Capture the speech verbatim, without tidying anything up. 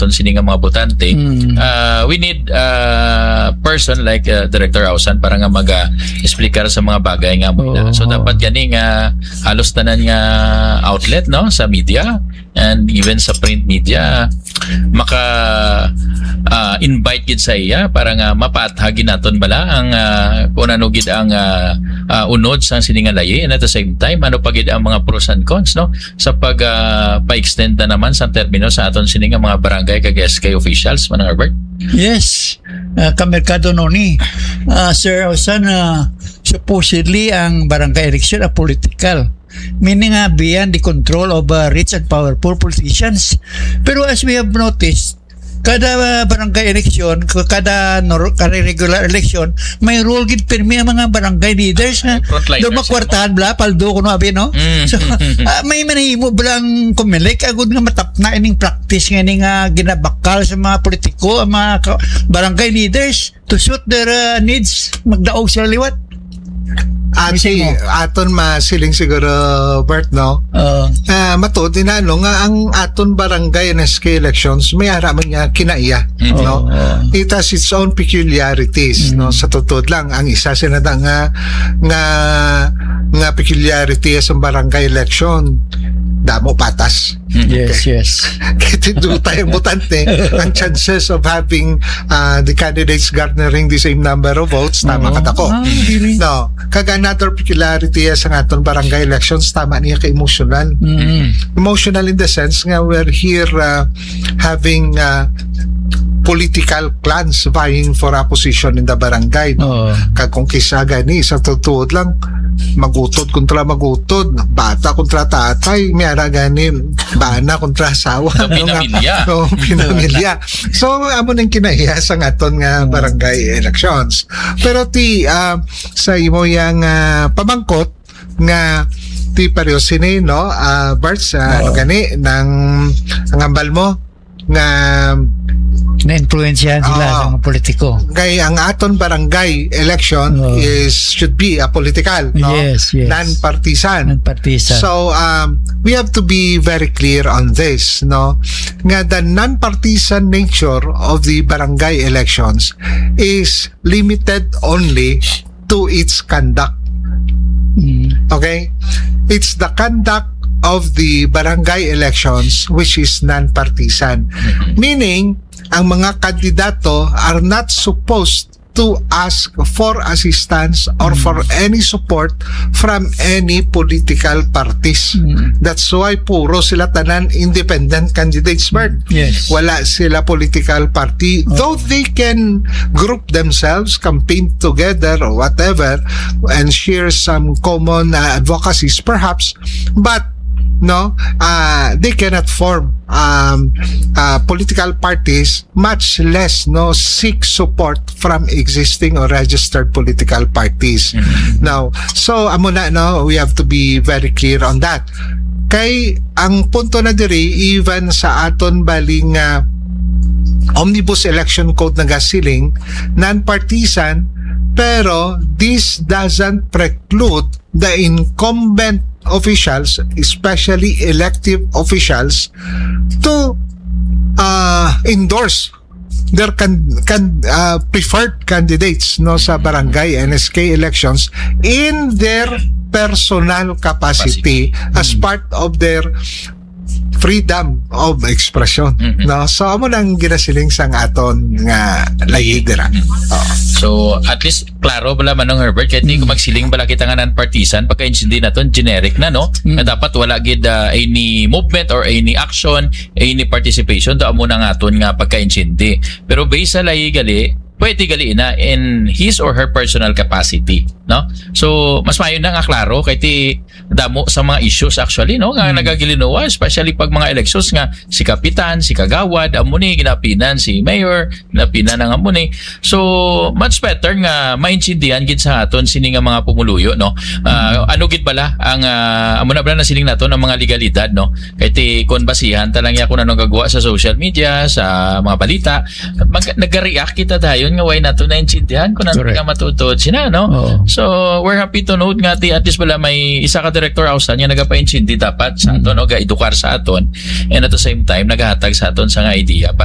aton sini nga mga botante, Mm. ah, we need, ah, person like, ah, Director Ausan para nga mag, ah, explicar sa mga bagay nga mo Oo, na. So, oo. dapat gani nga halos tanan nga outlet, no, sa media and even sa print media, maka, ah, invite gid sa iya para nga mapaathag gid naton bala ang, ah, kung ano gid ang, ah, ah, unod sa sini nga layi, and at the same time, ano pa gid ang mga pros and cons, no, sa pag, ah, pa-extend na naman sa termino sa aton sini nga mga barangay kag S K officials, Manang Herbert? Yes. Ah, kamerkado no ni, ah, Sir Ausan, ah, supposedly ang barangay election a political. Meaning nga beyond the control of, ah, rich and powerful politicians. Pero as we have noticed, kada, ah, barangay election, k-, kada nor-, kada regular election, may role gid pirmi ang mga barangay leaders nga Ay, frontliners, daw makwartahan bala, paldo kuno abi, no? Mm. So, ah, may manahimo bala ang Comelec agud nga matapna ining practice nga ini nga ginabakal sa mga politiko, ang mga ka-, barangay leaders to suit their, uh, needs, magdaog sila liwat. Ati, Mismo. aton masiling siguro, Bert, no? Oo. Ah, matuod din, ano, nga ang aton barangay and S K elections, may ara man niya kinaiya, Mm. no? Oo. It has its own peculiarities, Mm. no? Sa totoo lang, ang isa sila na nga, nga, nga peculiarity sa barangay election, damo patas. Mm. Yes, Okay. yes. Kaya tinduta yung botante, ang chances of having, ah, the candidates garnering the same number of votes, tama Oo. ka tako. Ah, dili. No, kag another peculiarity sa aton barangay elections, tama niya ka emotional. Mm. Emotional in the sense nga we're here, ah, having, ah, political clans vying for a position in the barangay. Oo. Kag kung kisa gani, sa tutuod lang, magutod kontra magutod, bata kontra tatay, may ara gani, bana kontra asawa. So, ano nga? Pinamilya. Oo, pinamilya. So, amo nang kinaiya sa aton nga Mm. barangay elections. Pero ti, ah, sa imo yang, ah, pamangkot nga ti pareho sini, no? Ah, Bert, sa ano Oo. gani, nang ang hambal mo nga Na-influensyahan sila Oo. sa mga politiko. Kay ang aton barangay election Oo. is, should be a political, no? Yes, yes. Non-partisan. Non-partisan. So, um, we have to be very clear on this, no? Nga the non-partisan nature of the barangay elections is limited only to its conduct. Mm. Okay? It's the conduct of the barangay elections which is non-partisan. Mm-hmm. Meaning, ang mga kandidato are not supposed to ask for assistance or Mm. for any support from any political parties. Mm. That's why puro sila tanan independent candidates, Bert. Yes. Wala sila political party. Oh. Though they can group themselves, campaign together or whatever, and share some common, uh, advocacies perhaps, but, no, uh, they cannot form, um, uh, political parties, much less, no, seek support from existing or registered political parties. Mm-hmm. Now, so, amo na, no, we have to be very clear on that. Kay ang punto na diri, even sa aton baling, ah, omnibus election code nagasiling, non-partisan, pero this doesn't preclude the incumbent officials, especially elective officials, to, ah, endorse their can, can, ah, preferred candidates, no, sa barangay N S K elections in their personal capacity Capacity. as Mm. part of their freedom of expression, Mm-hmm. no? So, amo nang ginasiling sang aton nga layi dira. Mm. Oo. So, at least, klaro bala, Manong Herbert, kahit di ko Mm. magsiling bala kita nga non-partisan, pagka-intindi naton, generic na, no? Mm. Nga dapat wala gid, ah, any movement or any action, any participation, to amo na nga aton nga pagka-intindi. Pero based sa layi gali, pwede gali na in his or her personal capacity, no? So, mas maayo na nga klaro, kay ti damo sa mga issues actually, no, nga Mm. nagagilinuwa, especially pag mga elections nga si kapitan, si kagawad, amo ni ginapinan, si mayor, ginapinan ang amo ni. So, much better nga maintindihan gid sa aton sini nga mga pumuluyo, no? Ah, Mm. ano gid bala ang, ah, amo na bala nasiling naton ang mga legalidad, no? Kay ti kon basihan ta lang ya kung ano gagawa sa social media, sa mga balita, mag-, nag-react kita dayon nga way nato naintindihan kung ano Correct. nga matutuod sina, no? Oo. So, we're happy to note nga ti at least bala may isa ka director house nga nagapaintindi dapat sa Mm. aton o ga-edukar sa aton, and at the same time nagahatag sa aton sa nga idea para